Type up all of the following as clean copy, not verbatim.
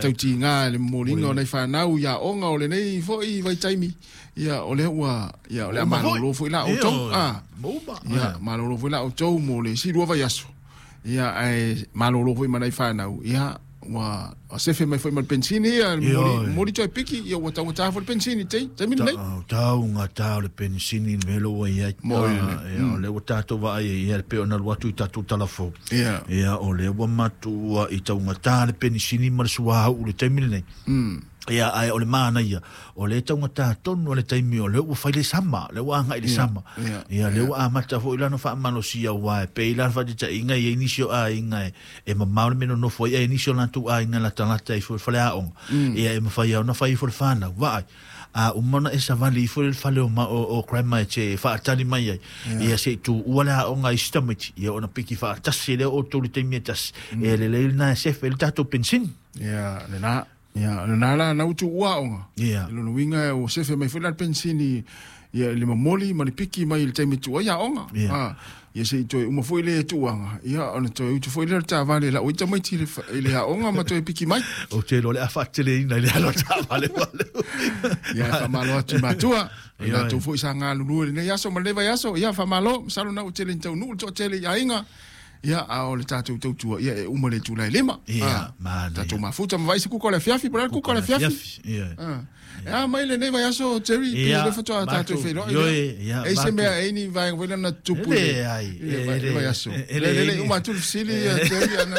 Faatautiga le momoliga o nai fanau i aoga o lenei foi vaitaimi, ia o lea ua, ia o le a malolo foi la outou. Ia malolo foi la outou mo le isi 2 vaiaso. Ia ae malolo foi ma nai fanau, ia ua sefe mai foi ma le pensini, ia momoli toe piki, ia ua taugata foi le pensini te taimi lenei. Taugata o le pensini le mea lea ua i ai. Ia o lea ua tatou vaai ai, ia pei ona alu atu i tatou talafou. Ia o lea ua matua i taugata le penisini ma le suauu i le taimi lenei. Ia ae o le manaia, o lea e taugata tonu le taimi o lea ua fai le sama, lea ua agai le sama. Ia lea ua amata foi la ona faamalosia, aua e pei la le faataitaiga e i ai nisi o aiga e mamao le mea e nonofo ai, ae nisi o latou aiga latalata ifo i le faleaoga. Ia e mafai lava ona fai ifo le fanau, vaai. A uma ona e savali ifo i le fale o grandma e te faatali mai ai, ia se i tuua le aoga i isi tamaiti, ia ona piki faatasi lea outou i le taimi e tasi. E lelei lena e sefe ai le tatou penisini. Ia, lena. Ia, lena la na utu ua aoga. Ia. Lona uiga ua sefe mai foi la le penisini, ia i le momoli ma le piki mai i le taimi tuua ai aoga. Ia. Ia se i toe uma foi le tuuaga, ia ona toe utu foi lea o le taavale lau ai tamaiti i le aoga ma toe piki mai. Ou te iloa o le a faateleina i le alo o le taavale wale. Ia, faamalo atu i matua. I latou foi sa galulue i lenei aso ma lenei vaiaso. Ia, faamalo, masalo na ua tele ni taunuu le toatele i aiga. Ia, a o le tatou tautua, ia e uma le itula e 5. Ia, manaia. Tatou mafuta ma vaai se kuka o le afiafi, po o le a le kuka o le afiafi. Ia. E a mai lenei vaiaso, Jerry, pe Ia, le faatoa tatou matou, feiloai. ioe, ia, E i se matou. mea e ni vaega foi lea na tupu E i le- leai, i le e le le- vaiaso. e Le leai le ni- uma atu le fesili, ia, Jerry, ana.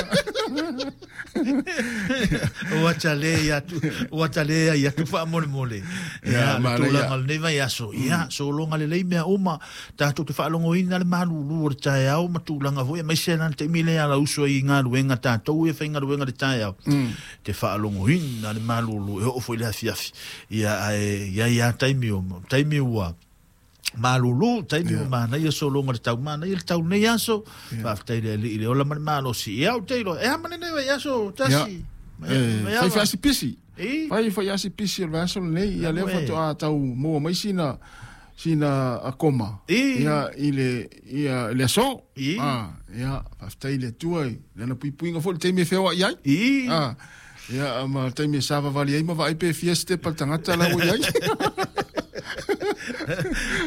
Ua tale atu, ua tale ai atu faamolemole. Ia, Ia, le manaia. tulaga o lenei vaiaso. Ia, sologa lelei mea uma. Tatou te faalogoina le malulu o le taeao ma tulaga foi, aemaise la le taimi lea ala uso ai i galuega, tatou ia faigaluega le taeao. Te faalogoina le malulu e oo foi le afiafi. Ia, ae i ai lava taimi o, taimi ua malulu, taimi ua manaia sologa le tau, manaia le tau nei aso. Faafetai le Alii i le ola ma le malosi. Ia, ou te iloa, e a ma lenei vaiaso, tasi. Ia. Fai fai pisi. I? Fai fai asi pisi o le vaiaso lenei. Ia lea Ue. faatoa tau maua mai sina akoma. I. Ia, i le, ia, i le aso. I. Ia, faafetai le Atua i lana puipuiga foi le taimi e feoai ai. I. Ia, ma le taimi e savavali ai ma vaai pe fia stepa le tagata la ua i ai.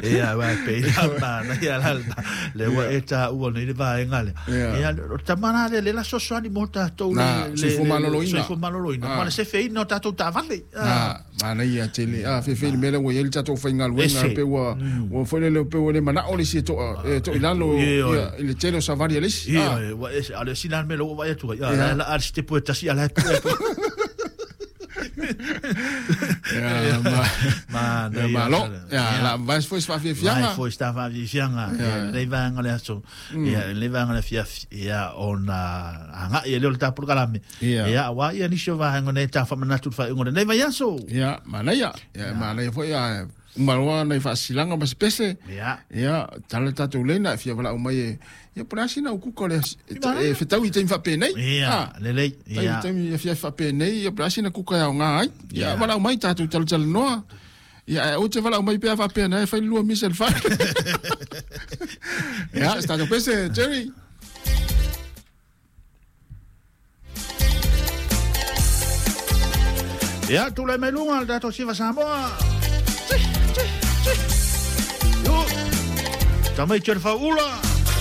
Ia, uae pei la manaia la le le ua e taua nei le vaega lea. Ia. Ia, o le tama la lea, le la fesoasoani mo tatou Na, soifua maloloina. soifua maloloina. Ma le sefeina o tatou taavale. Na, manaia tele. Fefe le mea lea ua i ai le tatou faigaluega, Ese. pe ua foi lele pe ua le manao le isi e toa, e toi lalo, Ia, ia, i le tele o savali a le isi. Ia, ua ese, a le sina le mea lea ua vaai atu ai. Ia. La, a le sitepu e tasi, a la e pu e pu. Ia, ma, Manaia. ia, malo. Ia, la vai foi se faafiafiaga. Vai foi se faafiafiaga. Ia, lenei vaega o le aso. Ia, lenei vaega o le afiafi. Ia, ona agai e lea o le tapolokalame. Ia. Ia, aua ia nisi o vaega nei ta faamanatu i le faaiuga o lenei vaiaso. Ia, manaia. Ia, manaia foi, a, uma loa nai faasilaga ma se pese. Ia. Ia, tala tatou leina, e fia valaau mai e, ia, po o le a sina ukuka o le e fetau i taimi faapenei. Ia, lelei. Ia. Taimi e fia faapenei, ia, po o le a sina kuka e aoga ai. Ia, Ia. valaau mai tatou talatalanoa. Ia, ae ou te valaau mai pea faapea na e fai lua misa i le fale. Ia, se tatou pese, Jerry. Ia, tulai mai luga le tatou siva Samoa. Tsi, tsi, tsi. Yo. Tamaiti o le fauula.